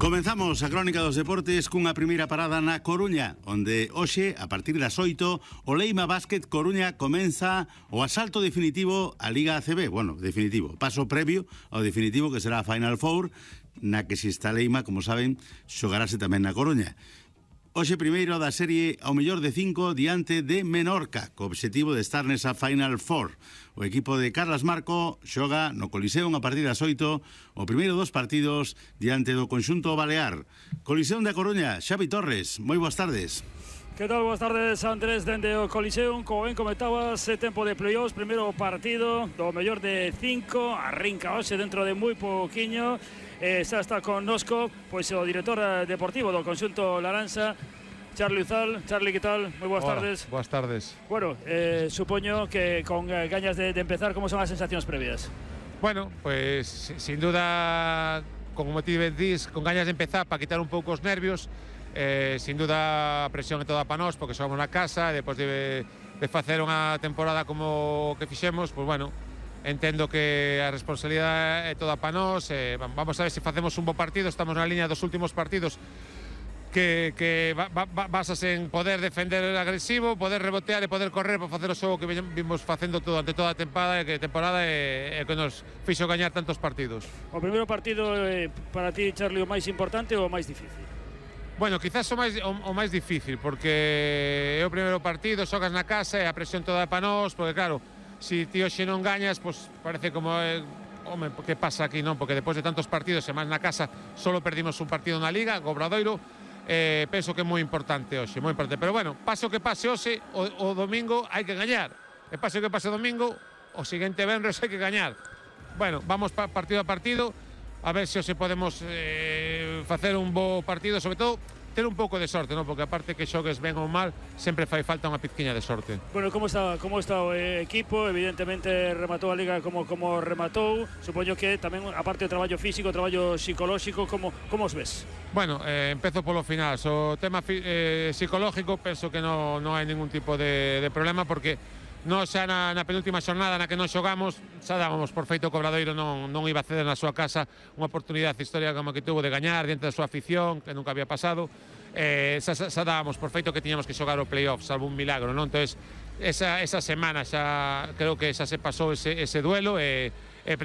Comenzamos a crónica dos deportes cunha primeira parada na Coruña, onde hoxe, a partir das 8, o Leima Basket Coruña comeza o asalto definitivo á Liga ACB. Bueno, definitivo, paso previo ao definitivo que será a Final Four, na que se está Leima, como saben, xogarase tamén na Coruña. Hoxe primeiro da serie ao mellor de 5 diante de Menorca, co obxectivo de estar nesa Final Four. O equipo de Carlas Marco xoga no Coliseum a partir das 8 o primeiro dos partidos diante do conxunto balear. Coliseum da Coruña, Xavi Torres, moi boas tardes. Que tal? Boas tardes, Andrés, dende o Coliseum. Como ben comentabas, tempo de playoffs, primeiro partido do mellor de 5, arrinca hoxe dentro de moi pouquiño. Xa está connosco pois o director deportivo do conxunto laranxa, Charlie Uzal. Charlie, que tal? Moi boas tardes. Boas tardes. Bueno, supoño que con gañas de empezar, como son as sensacións previas? Bueno, pues sin duda, como ti dís, con gañas de empezar para quitar un pouco os nervios. Sin duda a presión é toda para nós, porque somos na casa, e depois de facer unha temporada como que fixemos, pues bueno, entendo que a responsabilidade é toda para nós. Vamos a ver se facemos un bo partido. Estamos na liña dos últimos partidos que basase en poder defender agresivo, poder rebotear e poder correr para facer o xogo que vimos facendo durante toda a temporada, e que nos fixo gañar tantos partidos. O primeiro partido para ti, Charlie, o máis importante ou o máis difícil? Bueno, quizás o máis difícil, porque é o primeiro partido, xogas na casa e a presión toda é para nós, porque claro, si ti hoxe non gañas, pues parece como home, que pasa aquí, non? Porque depois de tantos partidos e máis na casa, solo perdimos un partido na Liga, o Obradoiro. Penso que é moi importante hoxe, moi importante. Pero bueno, paso que pase hoxe, o domingo hai que gañar. E paso que pase o domingo, o seguinte venres hai que gañar. Bueno, vamos partido a partido, a ver se hoxe podemos facer un bo partido, sobre todo ter un pouco de sorte, non? Porque aparte que xogues ben ou mal, sempre fai falta unha pizquiña de sorte. Bueno, como está o equipo? Evidentemente rematou a Liga como rematou. Supoño que tamén, aparte do traballo físico, o traballo psicolóxico, como os ves? Bueno, empezo polo final. O tema psicológico, penso que non hai ningún tipo de problema, porque nós xa na penúltima xornada na que non xogamos, xa dábamos por feito que o Obradoiro non iba a ceder na súa casa unha oportunidade histórica como que tuvo de gañar diante da súa afición, que nunca había pasado. Xa dábamos por feito que tiñamos que xogar o playoff, salvo un milagro, non? Entón, esa semana xa creo que xa se pasou ese duelo, e